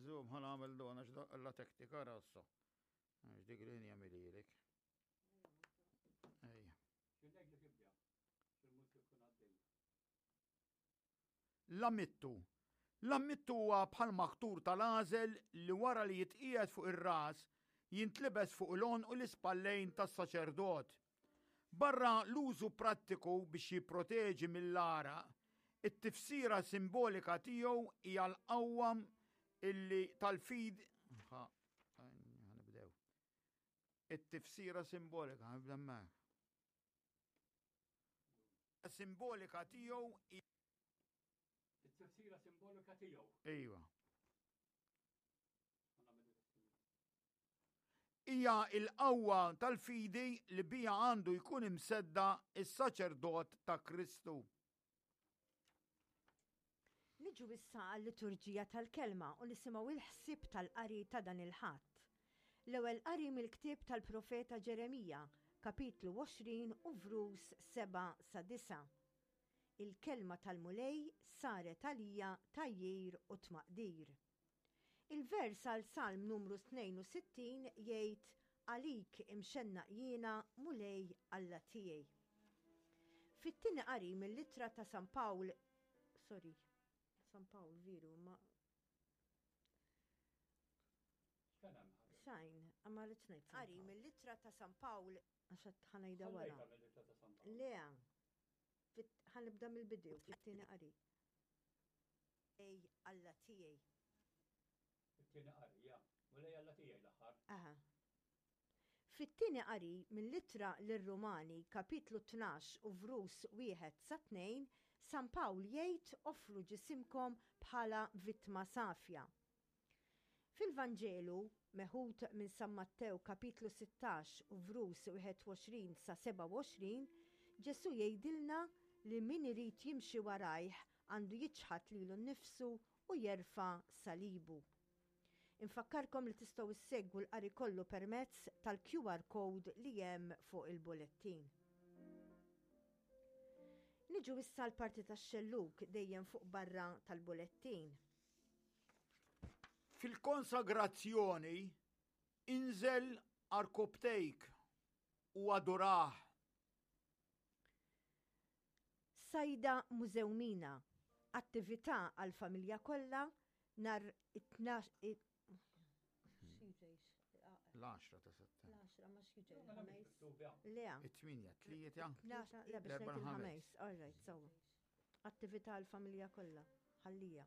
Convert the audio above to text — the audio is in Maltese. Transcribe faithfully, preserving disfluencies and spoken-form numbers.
Zoom, ħa nagħmel dona x'daqqa tektika rassa. Għax dik linja mililek. Ejja. L-ammittu. L-ammittu huwa bħal maktur tal-għażel li wara li jitqiegħed fuq ir-ras jintlibes fuq l-għonq u l-ispallejn tas-saċerdot. Barra l-użu prattiku biex jipproteġi mill-għaraq, it-tifsira simbolika tiegħu hija l-qawwa illi tal-fid ħa nibdew. It-tifsira simbolika, nibda hemmhekk. Simbolika tiegħu It-tifsira simbolika tiegħu. Iva. Hija l-qawwa tal-fidi li biha għandu jkun imsedda is-saċerdot ta' Kristu. Niġu issa għal-liturġija tal-kelma u nisimgħu il-ħsieb tal-qari ta' dan il-Ħadd. L-ewwel qari mill-ktieb tal-profeta Ġeremija, kapitlu għoxrin u vrus seba' sa disa'. Il-kelma tal-Mulej saret għalija tgħajjir u tmaqdir. Il-vers għal Salm numru tnejn u sittin jgħid għalik imxennaq jiena Mulej Alla tiegħi. Fit-tieni qari mill-ittra ta' San Pawl, sorry, San Pawl veru, ma Xajn, għamma li tnejt. Qari mill-ittra ta' San Pawl, għax ħanajda wara. Le, ħanibda mill-bidu, fit-tieni qari. Ej, Alla tiegħi. Fit-tieni qari, ja. Mulej Alla tiegħi l-aħħar. Aha. Fit-tieni qari mill-ittra lir-Rumani, kapitlu tnax u vrus wieħed sa tnejn, San Pawl jgħid offru ġisimkom bħala vittma safja. Fil-Vanġelu, meħud minn San Mattew kapitlu sittax u vrus wieħed u għoxrin sa sebgħa u għoxrin, Ġesu jgħidilna li min irid jimxi warajh għandu jiċħad lilu nnifsu u jerfa' salibu. Infakkarkom li tistgħu issegwu l-qari kollu permezz tal-Q R code li hemm fuq il-bulettin. Niġu issa l-parti tax-xellug dejjem fuq barra tal-bulettin. Fil-konsagrazzjoni inżel arkobtejk u adurah. Sajda Mużewmina, attività għal-familja kollha nhar it-tnax it- L-għaxra ta' settembru. L-għaxra ma x'jiġri, il-ħames. Le. It-tminja, tlieta. Le, biex L-erba' ngħid ħames. il-ħames. All right, so. Attività għal-familja kollha, ħallija.